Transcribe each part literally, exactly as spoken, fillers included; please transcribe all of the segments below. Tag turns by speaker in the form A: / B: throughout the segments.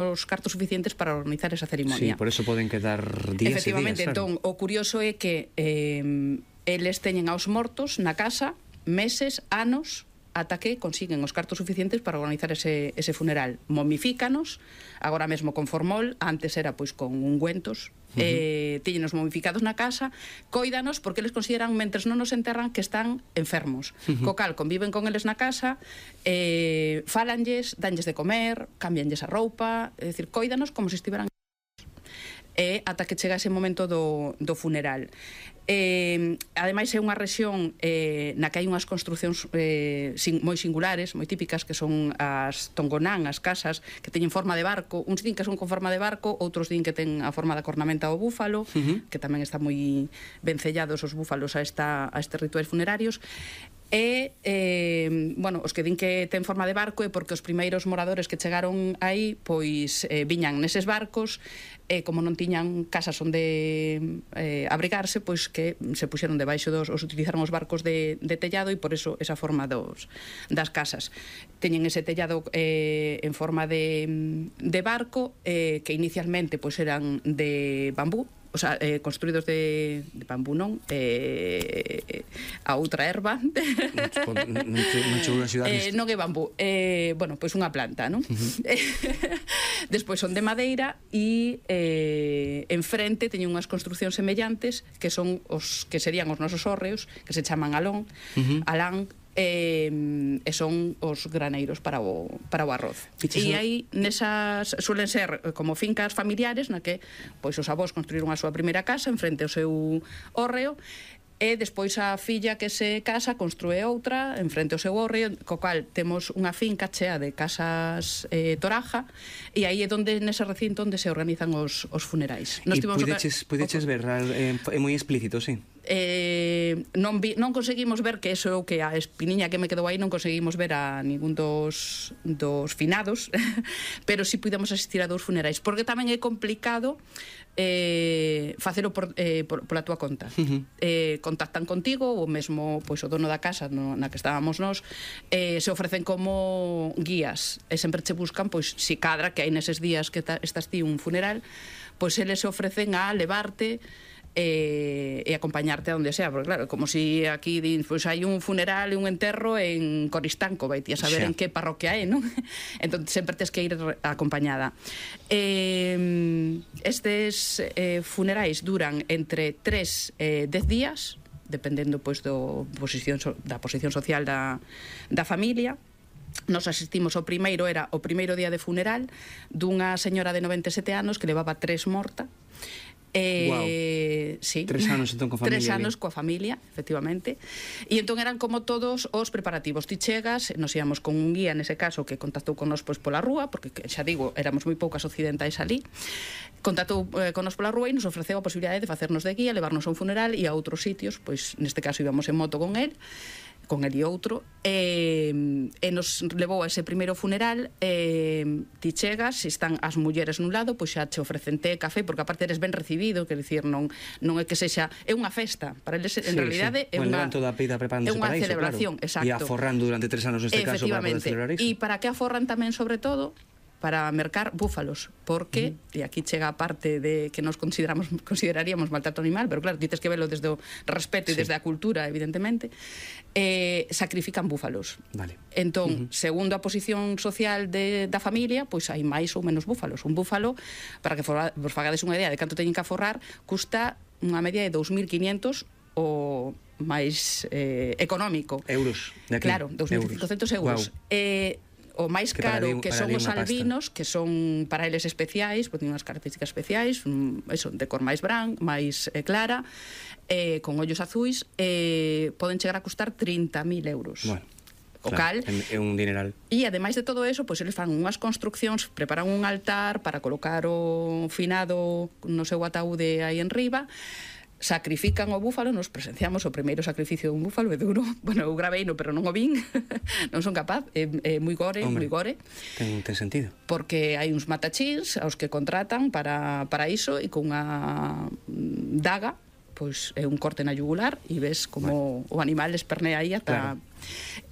A: os cartos suficientes para organizar esa cerimonia.
B: Sí, por eso poden quedar días e días.
A: Efectivamente, entón, o curioso é que eh, eles teñen aos mortos na casa meses, anos, ata que consiguen os cartos suficientes para organizar ese, ese funeral. Momifícanos, agora mesmo con formol, antes era pois con ungüentos, uh-huh. eh, tíñenos momificados na casa, coídanos porque eles consideran, mentres non nos enterran, que están enfermos. Uh-huh. Co cal, conviven con eles na casa, eh, falanlles, danlles de comer, cambianlles a roupa, é dicir, coídanos como se estiveran e ata que chega ese momento do, do funeral. Eh, ademais é unha rexión eh, na que hai unhas construcións eh, sin, moi singulares, moi típicas, que son as tongonán, as casas que teñen forma de barco. Uns din que son con forma de barco, outros din que ten a forma da cornamenta ao búfalo, uh-huh. que tamén está moi vencellados os búfalos a, esta, a estes rituais funerarios. E, eh, bueno, os que din que ten forma de barco é porque os primeiros moradores que chegaron aí, pois, eh, viñan neses barcos, e como non tiñan casas onde eh, abrigarse, pois que se puxeron debaixo dos, os utilizaron os barcos de, de tellado, e por eso esa forma dos, das casas. Teñen ese tellado eh, en forma de, de barco, eh, que inicialmente pois eran de bambú, o sea, eh, construídos de, de bambú, non, eh, a outra erva.
B: Non, non chegou a axudar
A: eh, non é bambú, eh, bueno, pois unha planta, non? Uh-huh. Despois son de madeira e eh, enfrente teñen unhas construcións semellantes que son os que serían os nosos hórreos, que se chaman alón, uh-huh. alán, E, e son os graneiros para o, para o arroz. E aí nesas suelen ser como fincas familiares na que pois os avós construíron a súa primeira casa en frente ao seu hórreo, e despois a filla que se casa construe outra en frente ao seu hórreo, co cal temos unha finca chea de casas eh, toraja, e aí é onde nese recinto onde se organizan os, os funerais.
B: E pudeches, pudeches ver, é eh, moi explícito, sí.
A: Eh, non, vi, non conseguimos ver, que eso é o que a espiniña que me quedou aí, non conseguimos ver a ningún dos, dos finados, pero si sí pudemos asistir a dous funerais, porque tamén é complicado eh, facelo por, eh, por, pola túa conta. Uh-huh. eh, contactan contigo, ou mesmo pois, o dono da casa no, na que estábamos nós, eh, se ofrecen como guías, e sempre che buscan, pois, si cadra que hai neses días que ta, estás ti un funeral, pois eles se ofrecen a levarte e, e acompañarte a onde sea, porque claro, como si aquí din, pois hai un funeral e un enterro en Coristanco, vai ti a saber xa en que parroquia é, non? Entón sempre tes que ir acompañada. Eh, estes eh, funerais duran entre tres e dez días, dependendo pois do posición da posición social da da familia. Nos asistimos ao primeiro, era o primeiro día de funeral dunha señora de noventa e sete anos que levaba tres morta. Eh,
B: wow.
A: Sí.
B: Tres anos entón coa familia.
A: Tres anos coa familia, efectivamente. E entón eran como todos os preparativos. Ti chegas, nos íamos con un guía nese caso que contactou con nós pois pola rúa, porque xa digo, éramos moi poucas occidentais ali. Contactou eh, con nós pola rúa e nos ofreceu a posibilidade de facernos de guía, levarnos a un funeral e a outros sitios, pois neste caso íbamos en moto con el, con el e outro, e, e nos levou a ese primeiro funeral. E ti chegas, se están as mulleres nun lado, pois xa che ofrecen té, café, porque aparte eres ben recibido, quer dicir, non non é que sexa, é unha festa para eles, en sí, realidade sí. É
B: bueno,
A: unha
B: toda a pida preparándose
A: para
B: iso,
A: celebración,
B: claro.
A: Exacto.
B: E aforrando durante tres anos neste caso para poder celebrar iso.
A: E para que aforran tamén, sobre todo, para mercar búfalos, porque, uh-huh. e aquí chega a parte de que nos consideramos consideraríamos maltrato animal, pero claro, dices que velo desde o respeto e sí. desde a cultura, evidentemente, eh, sacrifican búfalos.
B: Vale.
A: Entón, uh-huh. segundo a posición social de, da familia, pois hai máis ou menos búfalos. Un búfalo, para que for, vos fagades unha idea de canto teñen que aforrar, custa unha media de dous mil quinientos o máis eh, económico.
B: Euros. De aquí.
A: Claro, dous mil cincocentos euros. Wow. Eh, o máis que caro di, que son os albinos, que son para eles especiais, porque teñen unhas características especiais, un, eso, de cor máis bran, máis eh, clara, eh, con ollos azuis, eh, poden chegar a custar trinta mil euros.
B: Bueno,
A: o
B: claro,
A: cal
B: é un dineral.
A: E ademais de todo eso, pois eles fan unhas construccións, preparan un altar para colocar o finado no seu ataúde aí en riba, sacrifican o búfalo, nos presenciamos o primeiro sacrificio dun búfalo, é duro, bueno, eu graveino, pero non o vin, non son capaz, é, é moi gore, moi gore.
B: Ten, ten sentido.
A: Porque hai uns matachins aos que contratan para, para iso, e con unha daga, pois é un corte na yugular, e ves como bueno. o animal espernea aí ata... Claro.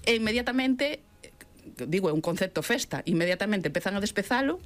A: E inmediatamente, digo, é un concepto festa, inmediatamente empezan a despezalo,